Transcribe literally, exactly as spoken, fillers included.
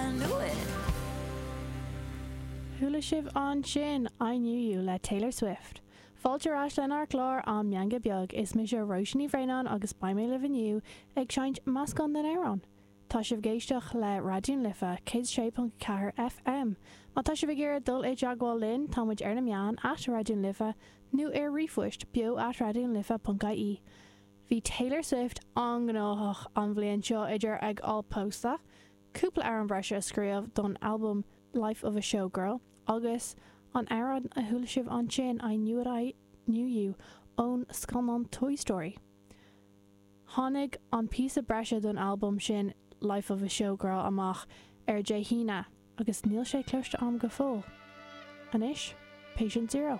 I knew it. Chuala sibh ansin I Knew You le Taylor Swift. Fáilte ar ais lenár gclár An Meangadh Beag is mise Róisín Ní Bhraonáin agus beidh mé libh inniu ag seinnt meascán den amhrán. Tá sibh ag éisteacht le Raidió na Life céad sé ponc ceathair FM. Má tá sibh ag iarraidh dul i dteagmháil linn tá muid ar na meáin at Raidió na Life nó ar ríomhphost beo at raidiónalife.ie. Bhí Taylor Swift an-ghnóthach an bhliain seo idir ag fáil pósta, cúpla amhrán breise a scríobh don album Life of a Showgirl agus an amhrán a chuala sibh ansin I Knew It I Knew You ón scannán Toy Story. Tháinig an píosa breise don album sin Life of a Showgirl amach ar Dé hAoine agus níl sé cloiste agam go fóill. Anois, Patient Zero.